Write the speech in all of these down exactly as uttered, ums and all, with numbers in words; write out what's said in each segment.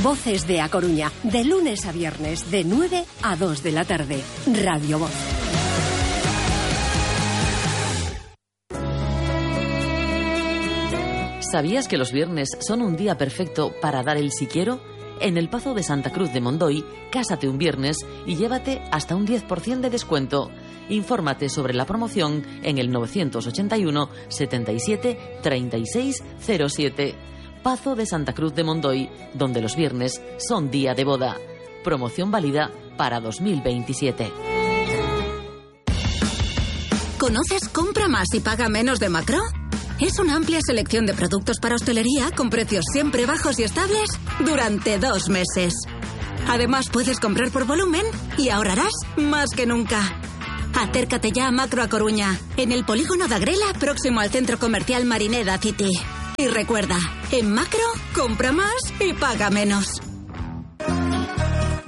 Voces de A Coruña, de lunes a viernes, de nueve a dos de la tarde. Radio Voz. ¿Sabías que los viernes son un día perfecto para dar el si quiero? En el Pazo de Santa Cruz de Mondoy, cásate un viernes y llévate hasta un diez por ciento de descuento. Infórmate sobre la promoción en el novecientos ochenta y uno, setenta y siete, treinta y seis cero siete. Pazo de Santa Cruz de Mondoy, donde los viernes son día de boda. Promoción válida para dos mil veintisiete. ¿Conoces Compra Más y Paga Menos de Macro? Es una amplia selección de productos para hostelería con precios siempre bajos y estables durante dos meses. Además, puedes comprar por volumen y ahorrarás más que nunca. Acércate ya a Macro A Coruña, en el polígono de Agrela, próximo al centro comercial Marineda City. Y recuerda, en Macro, compra más y paga menos.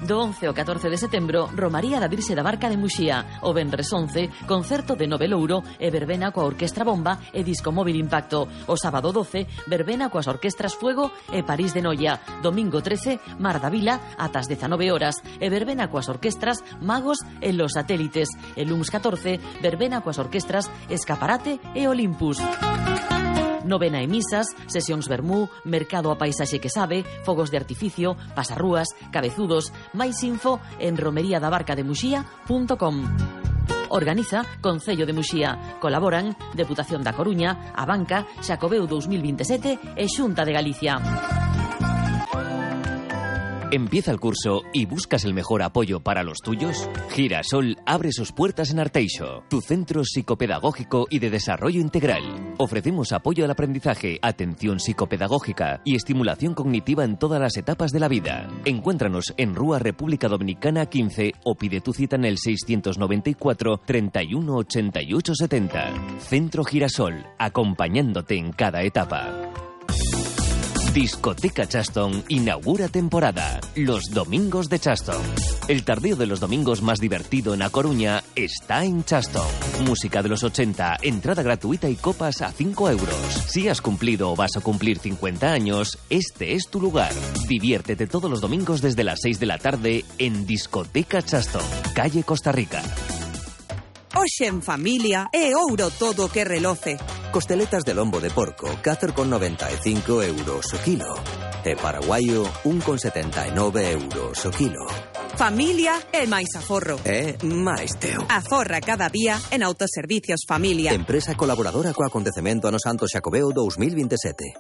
Do once ao catorce de setembro, Romaría da Virxe da Barca de Muxía. O venres once, concerto de Nove Louro e verbena coa Orquestra Bomba e Disco Móvil Impacto. O sábado doce, verbena coas orquestras Fuego e París de Noia. Domingo trece, Mar da Vila ata as dezanove horas e verbena coas orquestras Magos e Los Satélites. E luns catorce, verbena coas orquestras Escaparate e Olympus. Novena e misas, sesións vermú, mercado a paisaxe que sabe, fogos de artificio, pasarrúas, cabezudos. Máis info en romería da barca de muxía punto com. Organiza Concello de Muxía. Colaboran Deputación da Coruña, a Banca, Xacobeo dos mil veintisiete e Xunta de Galicia. ¿Empieza el curso y buscas el mejor apoyo para los tuyos? Girasol abre sus puertas en Arteixo, tu centro psicopedagógico y de desarrollo integral. Ofrecemos apoyo al aprendizaje, atención psicopedagógica y estimulación cognitiva en todas las etapas de la vida. Encuéntranos en Rúa República Dominicana quince o pide tu cita en el seiscientos noventa y cuatro, treinta y uno, ochenta y ocho, setenta. Centro Girasol, acompañándote en cada etapa. Discoteca Chaston inaugura temporada. Los domingos de Chaston. El tardeo de los domingos más divertido en A Coruña está en Chaston. Música de los ochenta, entrada gratuita y copas a cinco euros. Si has cumplido o vas a cumplir cincuenta años, este es tu lugar. Diviértete todos los domingos desde las seis de la tarde en Discoteca Chaston, calle Costa Rica. Hoxe en familia é ouro todo que reloce. Costeletas de lombo de porco, catro con noventa e cinco euros o kilo. E paraguaio, un con setenta e nove euros o kilo. Familia é máis aforro. É máis teu. Aforra cada día en Autoservicios Familia. Empresa colaboradora co acontecemento ano Santo Xacobeo dos mil veintisiete.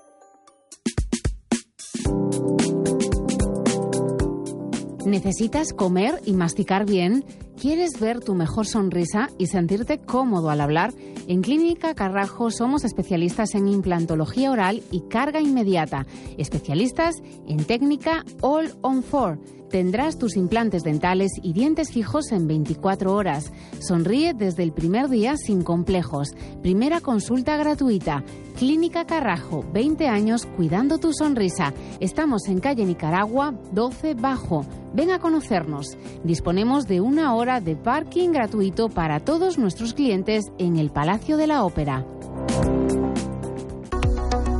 ¿Necesitas comer y masticar bien? ¿Quieres ver tu mejor sonrisa y sentirte cómodo al hablar? En Clínica Carrajo somos especialistas en implantología oral y carga inmediata. Especialistas en técnica All on Four. Tendrás tus implantes dentales y dientes fijos en veinticuatro horas. Sonríe desde el primer día sin complejos. Primera consulta gratuita. Clínica Carrajo, veinte años cuidando tu sonrisa. Estamos en calle Nicaragua, doce Bajo. Ven a conocernos. Disponemos de una hora de parking gratuito para todos nuestros clientes en el Palacio de la Ópera.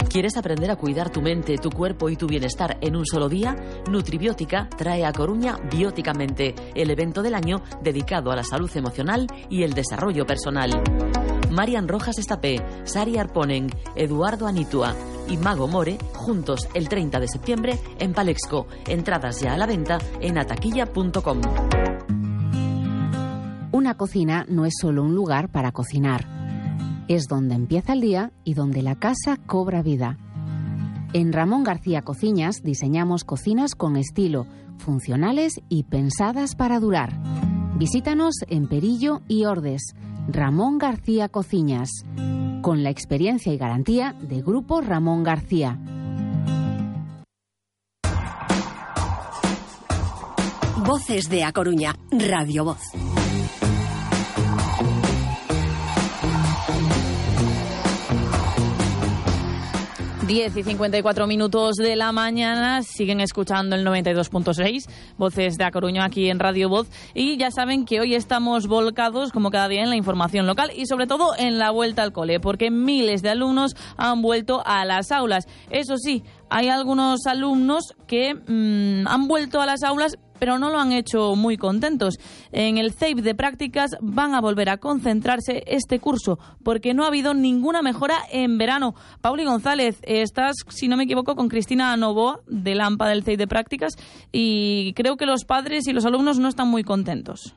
¿Quieres aprender a cuidar tu mente, tu cuerpo y tu bienestar en un solo día? Nutribiótica trae a Coruña Bióticamente, el evento del año dedicado a la salud emocional y el desarrollo personal. Marian Rojas Estapé, Sari Arponen, Eduardo Anitua y Mago More, juntos el treinta de septiembre en Palexco. Entradas ya a la venta en ataquilla punto com. Una cocina no es solo un lugar para cocinar. Es donde empieza el día y donde la casa cobra vida. En Ramón García Cocinas diseñamos cocinas con estilo, funcionales y pensadas para durar. Visítanos en Perillo y Ordes. Ramón García Cocinas, con la experiencia y garantía de Grupo Ramón García. Voces de A Coruña, Radio Voz. diez y cincuenta y cuatro minutos de la mañana, siguen escuchando el noventa y dos punto seis, Voces de A Coruña aquí en Radio Voz, y ya saben que hoy estamos volcados como cada día en la información local y sobre todo en la vuelta al cole, porque miles de alumnos han vuelto a las aulas. Eso sí, hay algunos alumnos que mmm, han vuelto a las aulas, pero no lo han hecho muy contentos. En el C E I P de prácticas van a volver a concentrarse este curso, porque no ha habido ninguna mejora en verano. Pauli González, estás, si no me equivoco, con Cristina Novoa, del AMPA del C E I P de prácticas, y creo que los padres y los alumnos no están muy contentos.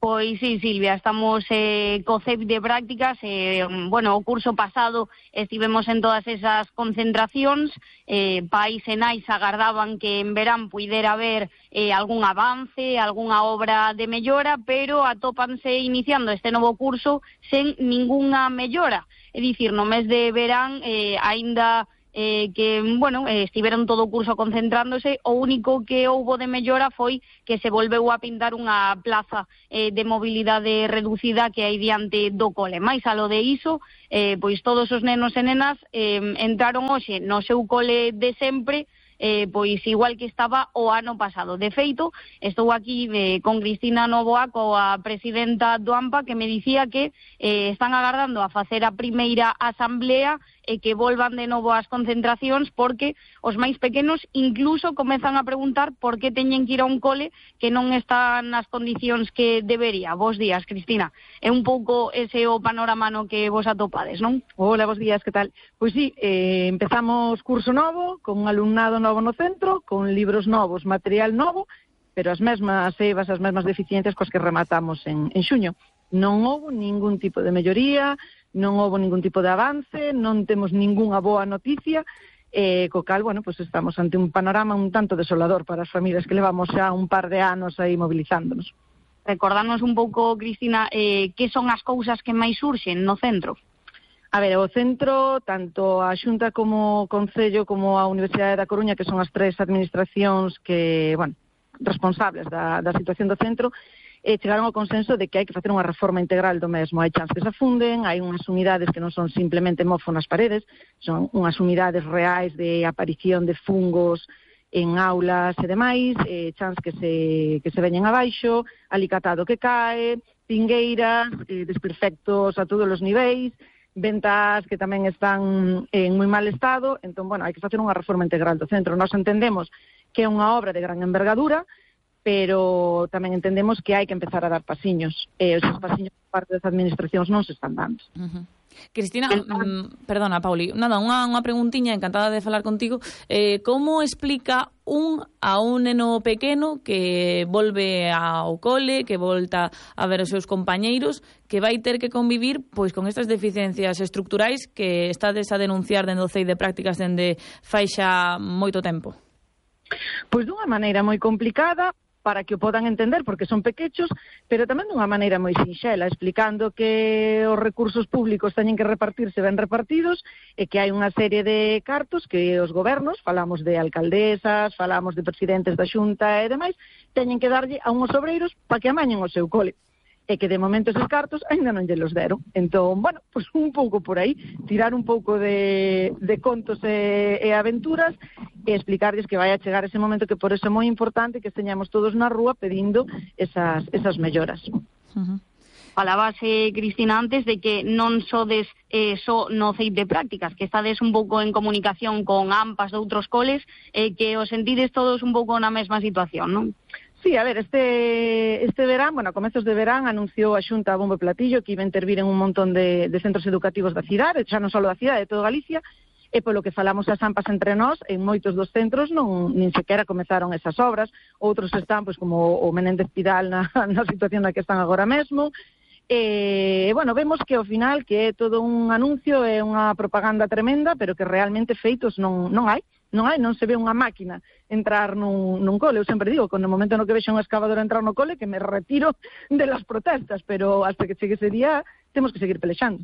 Pois sí, Silvia, estamos eh, co C E P de prácticas, eh, bueno, o curso pasado estivemos en todas esas concentracións, eh, pais e nais agardaban que en verán puidera haber eh, algún avance, algunha obra de mellora, pero atópanse iniciando este novo curso sen ningunha mellora, é dicir, no mes de verán eh, aínda Eh, que, bueno, eh, estiveron todo o curso concentrándose, o único que houbo de mellora foi que se volveu a pintar unha plaza eh, de mobilidade reducida que hai diante do cole. Mais a lo de iso, eh, pois todos os nenos e nenas eh, entraron hoxe no seu cole de sempre, eh, pois igual que estaba o ano pasado. De feito, estou aquí eh, con Cristina Novoa, coa presidenta do AMPA, que me dicía que eh, están agardando a facer a primeira asamblea e que volvan de novo ás concentracións, porque os máis pequenos incluso comezan a preguntar por que teñen que ir a un cole que non están nas condicións que debería. Bos días, Cristina. É un pouco ese o panorama no que vos atopades, non? Hola, bos días, que tal? Pois sí, eh, empezamos curso novo, con un alumnado novo no centro, con libros novos, material novo, pero as mesmas evas, as mesmas deficiencias coas que rematamos en, en xuño. Non houve ningún tipo de melloría, non houve ningún tipo de avance, non temos ningunha boa noticia, eh, co cal, bueno, pues estamos ante un panorama un tanto desolador para as familias que levamos xa un par de anos aí mobilizándonos. Recordarnos un pouco, Cristina, eh, que son as cousas que máis surxen no centro? A ver, o centro, tanto a Xunta como o Concello como a Universidade da Coruña, que son as tres administracións que, bueno, responsables da, da situación do centro, e chegaron ao consenso de que hai que facer unha reforma integral do mesmo. Hai chans que se afunden, hai unhas unidades que non son simplemente mofo nas paredes, son unhas unidades reais de aparición de fungos en aulas e demais, eh, chans que se, que se veñen abaixo, alicatado que cae, pingueiras, eh, desperfectos a todos os niveis, ventas que tamén están en moi mal estado. Entón, bueno, hai que facer unha reforma integral do centro. Nós entendemos que é unha obra de gran envergadura, pero tamén entendemos que hai que empezar a dar pasiños. E esos pasiños por parte das administracións non se están dando. Uh-huh. Cristina, mm, perdona, Pauli, nada, unha, unha preguntiña, encantada de falar contigo. Eh, como explica un a un neno pequeno que volve ao cole, que volta a ver os seus compañeiros, que vai ter que convivir pois con estas deficiencias estructurais que estades a denunciar dende o C E I de prácticas dende fai xa moito tempo? Pois dunha maneira moi complicada, para que o podan entender, porque son pequechos, pero tamén dunha maneira moi sinxela, explicando que os recursos públicos teñen que repartirse ben repartidos e que hai unha serie de cartos que os gobernos, falamos de alcaldesas, falamos de presidentes da Xunta e demais, teñen que darlle a unhos obreiros para que amañen o seu cole. E que de momento esos cartos ainda non lle los deron. Entón, bueno, pues un pouco por aí, tirar un pouco de, de contos e, e aventuras e explicarles que vai a chegar ese momento que por eso é moi importante que esteñamos todos na rúa pedindo esas, esas melloras. Uh-huh. Falabas, eh, Cristina, antes de que non sodes eh, só no C E I P de prácticas, que estades un pouco en comunicación con AMPAs de outros coles, e eh, que os sentides todos un pouco na mesma situación, non? Sí, a ver, este este verán, bueno, a comezos de verán, anunciou a Xunta a bombo e platillo que iba a intervir en un montón de, de centros educativos da cidade, xa non só da cidade, de toda Galicia, e polo que falamos as AMPAs entre nós, en moitos dos centros non nin sequera comezaron esas obras, outros están, pois, como o Menéndez Pidal na, na situación na que están agora mesmo. E, bueno, vemos que ao final que é todo un anuncio, é unha propaganda tremenda, pero que realmente feitos non, non hai. Non hai, non se ve unha máquina entrar nun, nun cole. Eu sempre digo, que no momento no que vexo unha excavadora entrar no cole, que me retiro de las protestas, pero hasta que chegue ese día temos que seguir pelexando.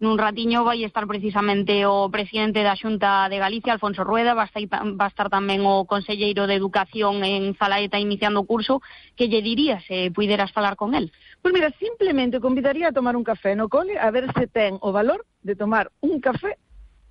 Nun ratiño vai estar precisamente o presidente da Xunta de Galicia, Alfonso Rueda, va a estar tamén o conselleiro de Educación en Zalaeta iniciando o curso. Que lle dirías se puideras falar con el? Pois mira, simplemente convidaría a tomar un café no cole, a ver se ten o valor de tomar un café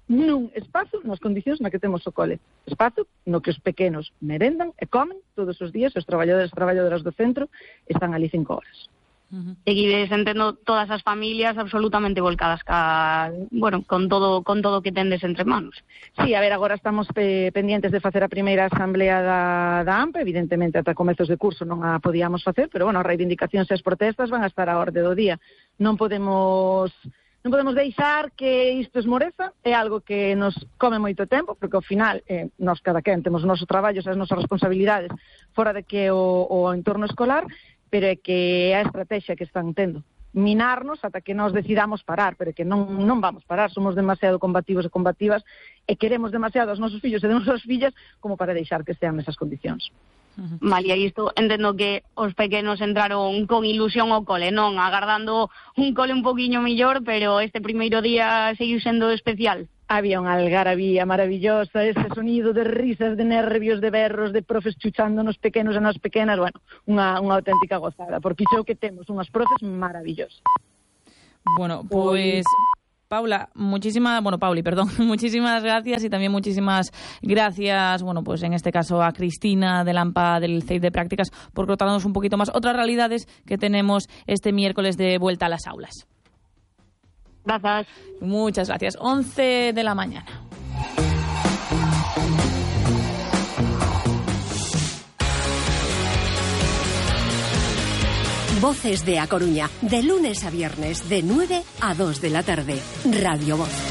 nun espazo nas condicións na que temos o cole. Espazo no que os pequenos merendan e comen todos os días, os traballadores e traballadoras do centro están ali cinco horas. Uh-huh. Seguides entendo todas as familias absolutamente volcadas ca, bueno, con todo con todo que tendes entre manos. Sí, a ver, agora estamos pe- pendientes de facer a primeira asamblea da, da A M P, evidentemente ata comezos de curso non a podíamos facer, pero bueno, as reivindicacións e as protestas van a estar á orde do día. Non podemos non podemos deixar que isto esmoreza, é algo que nos come moito tempo, porque ao final eh, nós cada quen temos os nosos traballos e as nosas responsabilidades fora de que o, o entorno escolar, pero é que a estrategia que están tendo minarnos ata que nós decidamos parar, pero é que non, non vamos parar, somos demasiado combativos e combativas e queremos demasiado aos nosos fillos e as nosas fillas como para deixar que estean nesas condicións. Uh-huh. Malia, isto entendo que os pequenos entraron con ilusión ao cole, non? Agardando un cole un poquinho mellor, pero este primeiro día seguiu sendo especial. Había unha algarabía maravillosa, ese sonido de risas, de nervios, de berros, de profes chuchando nos pequenos e nas pequenas, bueno, unha, unha auténtica gozada, porque iso que temos unhas profes maravillosas. Bueno, pues Paula, muchísimas, bueno, Pauli, perdón, muchísimas gracias y también muchísimas gracias, bueno, pues en este caso a Cristina de Lampa del C E I de Prácticas por contarnos un poquito más otras realidades que tenemos este miércoles de vuelta a las aulas. Gracias. Muchas gracias. once de la mañana. Voces de A Coruña, de lunes a viernes, de nueve a dos de la tarde. Radio Voz.